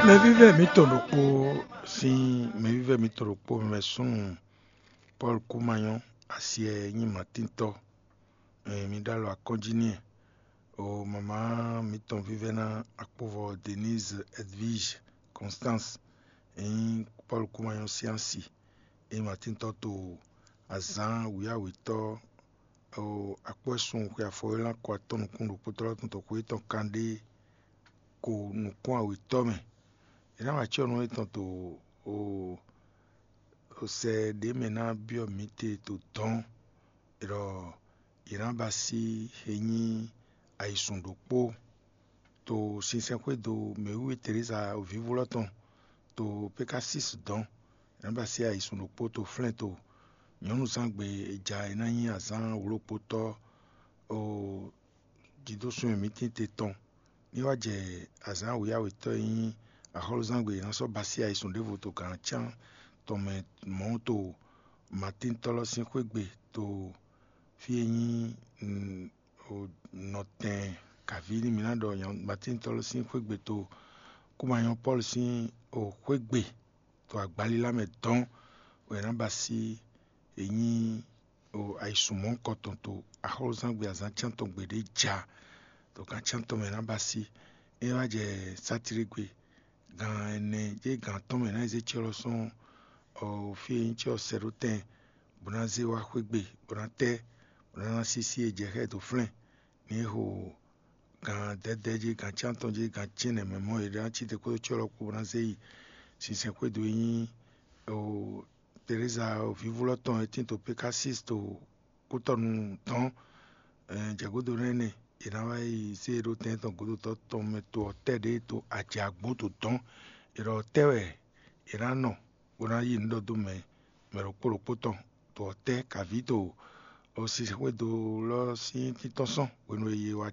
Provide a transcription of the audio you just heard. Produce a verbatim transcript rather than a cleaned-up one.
Mɛvívɛ́ mǐtɔn ɖokpó sín mɛvívɛ́ mǐtɔn ɖokpó mɛ súnnu Pɔ́lu Kúmanyɔ́ asi e nyí Matíntɔ́, mi ɖó alɔ akɔ́njí n'i. O mamá mǐtɔn vívɛ́ná akpóvɔ Denise Edwige Constance, e nyí Pɔ́lu Kúmanyɔ́ sín asi, e nyí Matíntɔ́ to azǎn wǐyáwětɔ́ akpɔ́ e sun xwe afɔwélán ko atɔn nukún ɖokpótɔ́ lɔ́ tɔn xwe tɔn kanɖé ko nukún awětɔ́ mɛ. È nǎ wa cyɔ́nú étɔn to sɛ ɖě mɛ ná byɔ́ mǐ te to dɔ̌n, ɖɔ yě ná ba sí e nyí ayǐsun ɖokpó to sinsɛnxwédo mɛwíwí Teresa vǐvú lɔ́ tɔn to Pekasis dɔ̌n. È nǎ ba sí ayǐsun ɖokpó to flɛ́n to nyɔ̌nuzángbe e ja e ná nyí azǎn wlókpotɔ́ o jidósun e mǐ tín te tɔn. Ní wá jɛ azǎn wěyáwětɔ́ e nyí axɔ́lúzángbe è nǎ sɔ́ ba sí ayǐsun ɖěvo to gǎn cán tɔn mɛ mɔ̌ to Matíntɔ́ lɔ́ sín xwé gbe to fí e nyí nɔtɛn kavǐ ní mǐ ná ɖɔ Matíntɔ́ lɔ́ sín xwé gbe to Kúmanyɔ Pɔ́lu sín xwé gbe to agbalílá mɛ dɔn wɛ è nǎ ba sí e nyí ayǐsun mɔ̌hunkɔtɔn to axɔ́lúzángbe azǎn cán tɔn gbe ɖě ja to gǎn cán tɔn mɛ è nǎ ba sí. É wá jɛ sátírégbe gan ɛnɛ jɛ gan atɔ́ɔ́n mɛ è nǎ yi zé cyɔ lɔ sɔ́ fí e nyí cyɔ sɛɖótɛn bó ná zé wá xwé gbe bó ná tɛ́ bó ná ná sísí e jɛ xá ɛ dó flɛ́n ní é xo gan dɛ̌dɛ̌ jí gan cyántɔn jí gan cɛ́nɛ mɛ mɔ̌ è ná cí te kpódó cyɔ lɔ kpó bó ná zé yi sinsɛnxwédo e nyí Tereza vǐvú lɔ tɔn e tín to Pekasis to kútɔnu dɔn. Jɛ̌gúdo nɛ́ nɛ è nǎ wá yi zé e ɖó tɛn tɔn gǒdotɔ́ tɔn mɛ to ɔ́ tɛ́ ɖě to ajǎgbó to dɔn. È ɖɔ tɛ́ wɛ è nǎ nɔ bó ná yí nǔ ɖɔ dó mɛ mɛ ɖokpó ɖokpó tɔn to ɔ́ tɛ́ kavǐ to sinsɛnxwédo lɔ sín títɔ́ sɔn hwenu e yě wá